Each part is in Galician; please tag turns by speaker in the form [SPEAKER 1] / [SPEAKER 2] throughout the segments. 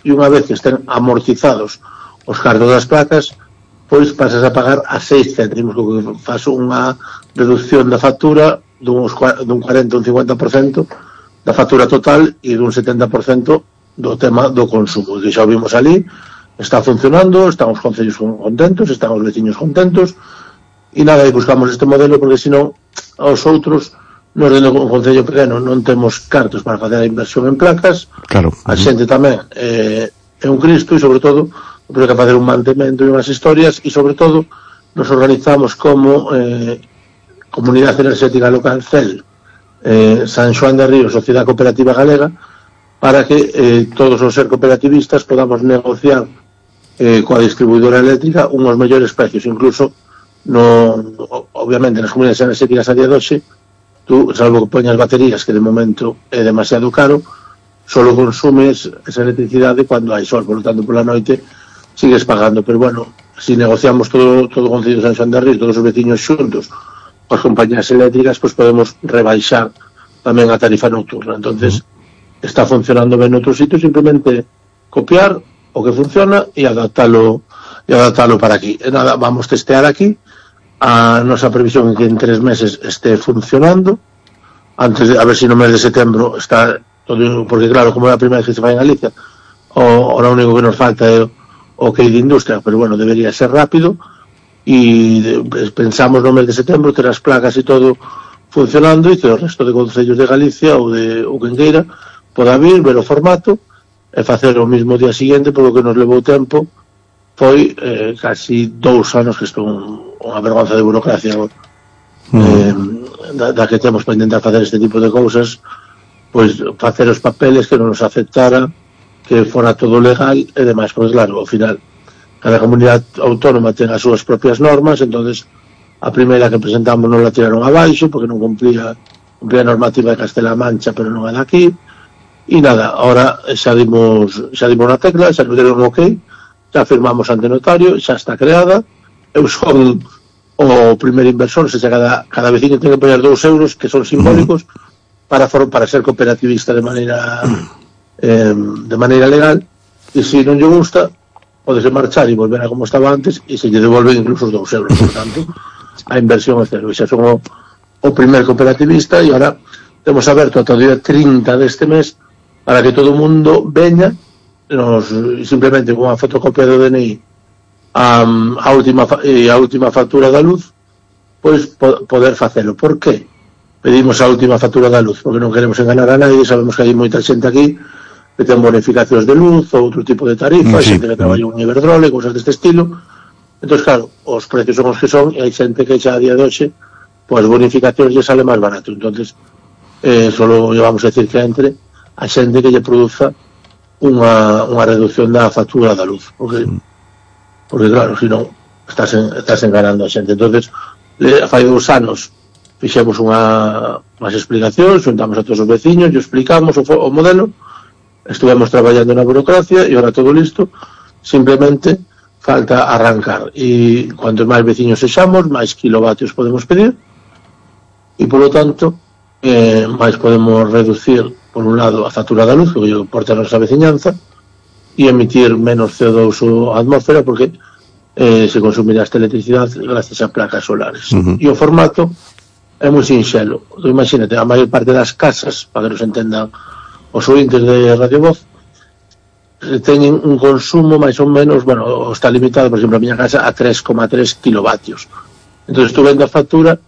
[SPEAKER 1] e unha vez que estén amortizados os cargos das placas, pois pasas a pagar a 6 céntimos, que faz unha reducción da factura dun 40 ou un 50% da factura total e dun 70% do tema do consumo, que xa o vimos ali, está funcionando, están os concellos contentos, están os veciños contentos, e nada, e buscamos este modelo porque senón aos outros nos dentro un concello pequeno non temos cartos para facer a inversión en placas.
[SPEAKER 2] Claro.
[SPEAKER 1] A xente tamén é un cristo, e sobre todo porque hai que facer un mantemento e unhas historias, e sobre todo nos organizamos como Comunidade Enerxética Local CEL, San Xoán de Río, Sociedade Cooperativa Galega, para que todos os ser cooperativistas podamos negociar coa distribuidora eléctrica unhos mellores precios. Incluso obviamente nas comunidades enerxéticas a día de hoxe, tú, salvo que poñas baterías, que de momento é demasiado caro, solo consumes esa electricidade cando hai sol, por lo tanto pola noite sigues pagando. Pero bueno, si negociamos todo o Concello de San Xoán de Río, todos os veciños xuntos coas compañías eléctricas, pois podemos rebaixar tamén a tarifa nocturna. Entonces está funcionando ben noutros sitios, simplemente copiar o que funciona e adaptalo para aquí. E nada, vamos testear aquí. A nosa previsión é que en 3 meses este funcionando, antes de, a ver se no mes de setembro está todo, porque claro, como é a primeira vez que se fai en Galicia, o único que nos falta é o que de industria, pero bueno, debería ser rápido, e pensamos no mes de setembro ter as placas e todo funcionando, e que o resto de concellos de Galicia ou de Quenqueira poda vir, ver o formato e facer o mismo día seguinte, polo que nos levou tempo foi casi 2 anos, que isto unha vergonza de burocracia da que temos para intentar facer este tipo de cousas, pois facer os papeles que non nos aceptara, que fora todo legal e demais. Pois claro, ao final cada comunidade autónoma ten as súas propias normas, entonces a primeira que presentamos non la tiraron abaixo porque non cumplía a normativa de Castela Mancha, pero non é daqui, e nada, ahora xa dimos na tecla, xa nos deron ok, xa firmamos ante notario, xa está creada. Eu son o primeiro inversor, se cada veciño ten que poñer 2 euros, que son simbólicos, para ser cooperativista de maneira legal, e se non lle gusta, podese marchar e volver a como estaba antes, e se lle devolven incluso os 2 euros. Por tanto, a inversión é cero. E xa son o primer cooperativista, e ahora temos aberto ata o día 30 deste mes para que todo o mundo veña, simplemente con a fotocopia do DNI a última factura da luz, pois poder facelo. Por que pedimos a última factura da luz? Porque non queremos enganar a nadie, sabemos que hai moita xente aquí que ten bonificacións de luz ou outro tipo de tarifas, xente que traballa un Iberdrola, cousas deste estilo. Entón, claro, os precios son os que son, e hai xente que xa a día de hoxe pois bonificacións lle sale máis barato. Entonces solo vamos a decir que entre a xente que lle produza unha reducción da factura da luz, porque claro, se non estás enganando a xente. Entonces fai 2 anos fixemos unhas explicacións, juntamos a todos os veciños, e explicamos o modelo, estuvemos traballando na burocracia e ahora todo listo, simplemente falta arrancar, e cuantos máis veciños sexamos, máis kilovatios podemos pedir, e polo tanto máis podemos reducir, por un lado, a factura da luz, que lle porta a nosa veciñanza, e emitir menos CO2 á atmósfera, porque se consumirá esta electricidade gracias a placas solares. E o formato é moi sinxelo. Imagínate, a maior parte das casas, para que nos entendan os ointes de Radio Voz, teñen un consumo máis ou menos, bueno, está limitado, por exemplo, a miña casa a 3,3 kilovatios. Entón, tú vendo a factura,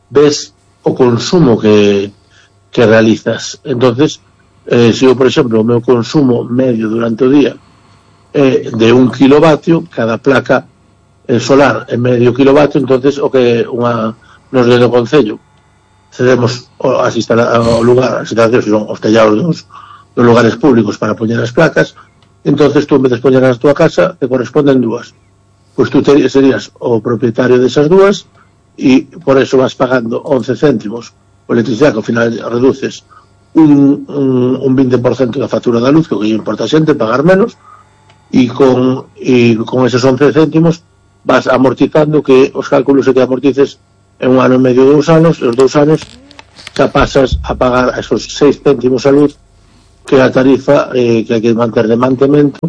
[SPEAKER 1] ves o consumo que realizas. Entonces, se eu, por exemplo, o meu consumo medio durante o día é de 1 kilovatio, cada placa solar é medio kilovatio, entonces o que nos do Concello cedemos as instalacións, son os tellados dos lugares públicos para poñer as placas. Entonces tú, en vez de poñer as túa casa, te corresponden 2, pois tú serías o propietario desas 2, e por eso vas pagando 11 céntimos por electricidade, que ao final reduces un 20% da factura da luz, que o que importa a xente, pagar menos, e con esos 11 céntimos vas amortizando, que os cálculos é que amortices en 1 ano e medio, 2 anos, e os 2 anos xa pasas a pagar esos 6 céntimos a luz que a tarifa que hai que manter de mantemento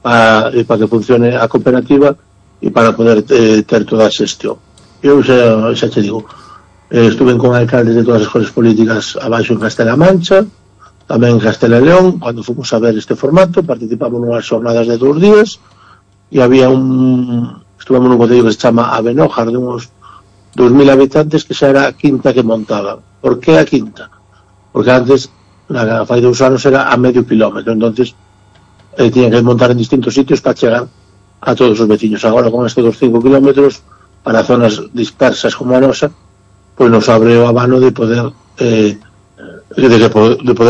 [SPEAKER 1] para que funcione a cooperativa e para poder ter toda a xestión. Eu xa te digo, estuve con alcaldes de todas as cores políticas abaixo en Castela Mancha, tamén en Castela e León, cando fomos a ver este formato, participamos nunhas jornadas de 2 días e había estuvemos nun concello que se chama Abenójar, de uns 2.000 habitantes, que xa era a quinta que montaban. Por que a quinta? Porque antes, fai 2 anos, era a medio kilómetro, entonces tiñan que montar en distintos sitios para chegar a todos os veciños. Agora, con estes 5 kilómetros, para zonas dispersas como a nosa, pois nos abre o abano de poder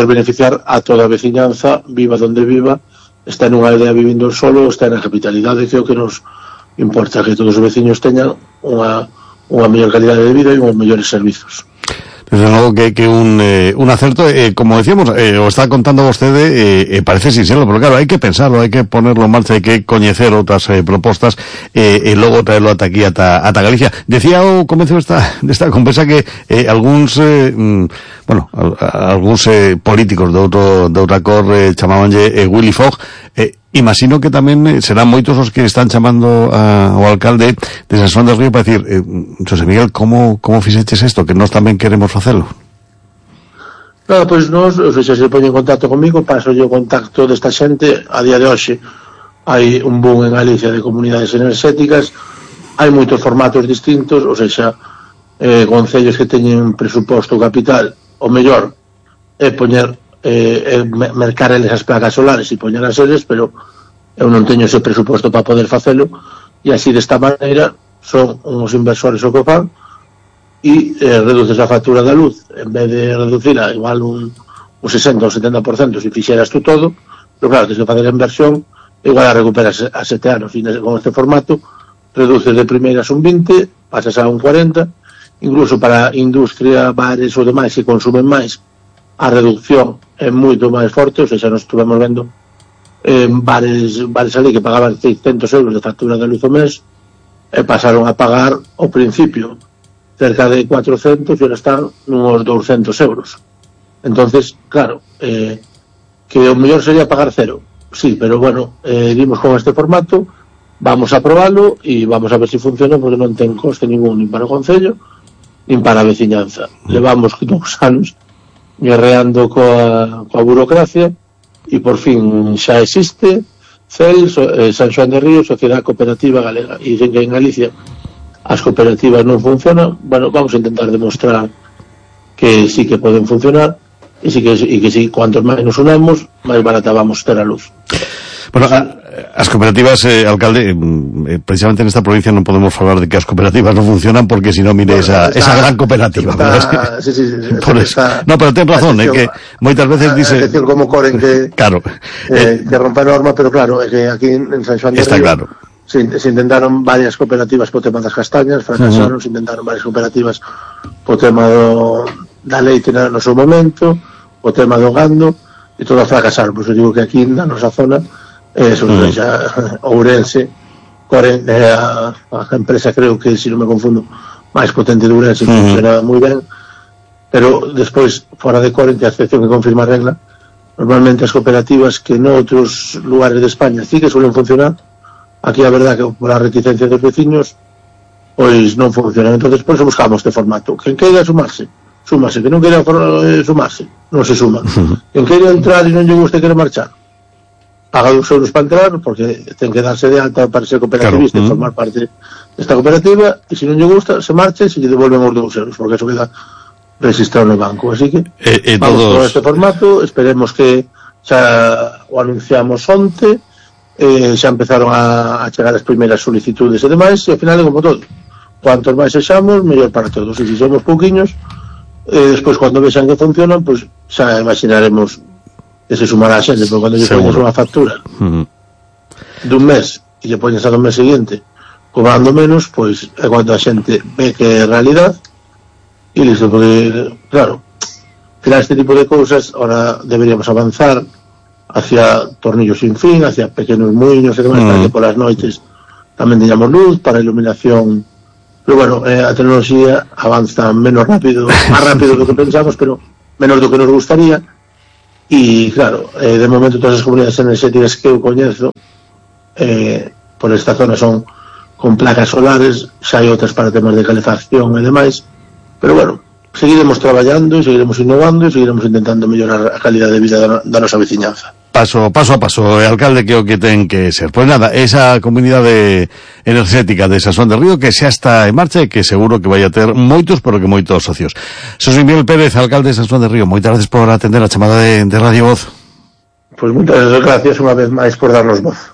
[SPEAKER 1] beneficiar a toda a veciñanza, viva donde viva, está nunha aldea vivindo solo, está na capitalidade, que é o que nos importa, que todos os veciños teñan unha mellor calidade de vida e uns mellores servizos.
[SPEAKER 2] Desde logo que un acerto, como decíamos, o está contando vostede, parece sincero, pero claro, hai que pensarlo, hai que ponerlo en marcha, hai que coñecer outras propostas e logo traerlo ata aquí, ata Galicia. Decía ao comezo desta conversa que algúns políticos de outra cor chamabanlle Willy Fogg. Imagino que tamén serán moitos os que están chamando ao alcalde de San Xoán del Río para decir, José Miguel, como fixeches isto, que nós tamén queremos facelo?
[SPEAKER 1] Claro, pois nós, xa se pone en contacto comigo, paso o contacto desta xente. A día de hoxe hai un boom en Galicia de comunidades enerxéticas, hai moitos formatos distintos, ou seja, concellos que teñen presuposto capital, o mellor é poñer mercar eles as placas solares e poñer as eles, pero eu non teño ese presuposto para poder facelo, e así desta maneira son uns inversores o que fan e reduces a factura da luz, en vez de reducirla igual un 60 ou 70% se fixeras tú todo, pero claro, tens que facer a inversión, igual a recuperas a 7 anos, e con este formato reduces de primeiras un 20, pasas a un 40, incluso para industria, bares ou demais que consumen máis, a reducción é moito máis forte. Ou seja, nos estuvemos vendo bares ali que pagaban 600 euros de factura de luz ao mes e pasaron a pagar ao principio cerca de 400 e ahora están nunos 200 euros. Entonces, claro, que o mellor sería pagar cero, sí, pero bueno, vimos con este formato, vamos a probarlo e vamos a ver se funciona, porque non ten coste ningún nin para o concello nin para a veciñanza. Levamos 2 anos guerreando coa burocracia e por fin xa existe CEL, San Xoán del Río, Sociedade Cooperativa Galega, e dicen que en Galicia as cooperativas non funcionan. Bueno, vamos a intentar demostrar que sí que poden funcionar e que sí, cuantos máis nos unamos, máis barata vamos ter a luz.
[SPEAKER 2] Bueno, as cooperativas, alcalde, precisamente nesta provincia non podemos falar de que as cooperativas non funcionan, porque se non mire esa gran cooperativa.
[SPEAKER 1] Sí,
[SPEAKER 2] no, pero ten razón, que moitas veces dice...
[SPEAKER 1] É decir, como Coren que
[SPEAKER 2] claro,
[SPEAKER 1] que rompe a norma, pero claro, é que aquí en San Xoán del Río
[SPEAKER 2] claro.
[SPEAKER 1] Se intentaron varias cooperativas po tema das castañas, fracasaron, se intentaron varias cooperativas po tema da leite no seu momento, o tema do gando, e todas fracasaron. Pois eu digo que aquí na nosa zona sobre Ourense, Coren é a empresa, creo que, se non me confundo, máis potente de Ourense, funciona moi ben, pero despois, fora de Coren, que a excepción que confirma a regla, normalmente as cooperativas que noutros lugares de España sí que suelen funcionar, aquí a verdad que por a reticencia dos veciños pois non funcionan. Entonces por eso buscamos este formato. Quen queira súmase, que non queira sumarse, non se suma. Quen queira entrar e non lle guste, queira marchar, paga 2 euros para entrar, porque ten que darse de alta para ser cooperativista, e formar parte desta cooperativa, e se non lle gusta, se marche, e se lle devolven os 2 euros, porque eso queda registrado no banco. Así que vamos con este formato, esperemos que xa o anunciamos onte, xa empezaron a chegar as primeiras solicitudes e demais, e ao final é como todo, cuantos máis sexamos, mellor para todos. E se somos pouquiños, despois cando vexan que funcionan, pois xa imaginaremos que se sumará a xente, porque cando lle poñes unha factura dun mes e lle poñes a do mes seguinte cobrando menos, pois é cando a xente ve que é realidad e listo. Porque claro, para este tipo de cousas ahora deberíamos avanzar hacia tornillos sin fin, hacia pequenos muiños e demais, para que polas noites tamén teñamos luz, para iluminación. Pero bueno, a tecnoloxía avanza menos rápido, máis rápido do que pensamos, pero menos do que nos gustaría. e claro, de momento todas as comunidades enerxéticas que eu coñezo por esta zona son con placas solares, xa hai outras para temas de calefacción e demais, pero bueno, seguiremos traballando, seguiremos innovando e seguiremos intentando mellorar a calidad de vida da nosa veciñanza.
[SPEAKER 2] Paso a paso, alcalde, que o que ten que ser. Pois nada, esa comunidade enerxética de Sansón de Río que xa está en marcha e que seguro que vai a ter moitos, pero que moitos socios. Xosé Miguel Pérez, alcalde de Sansón de Río, moitas gracias por atender a chamada de Radio Voz.
[SPEAKER 1] Pois moitas gracias unha vez máis por darnos voz.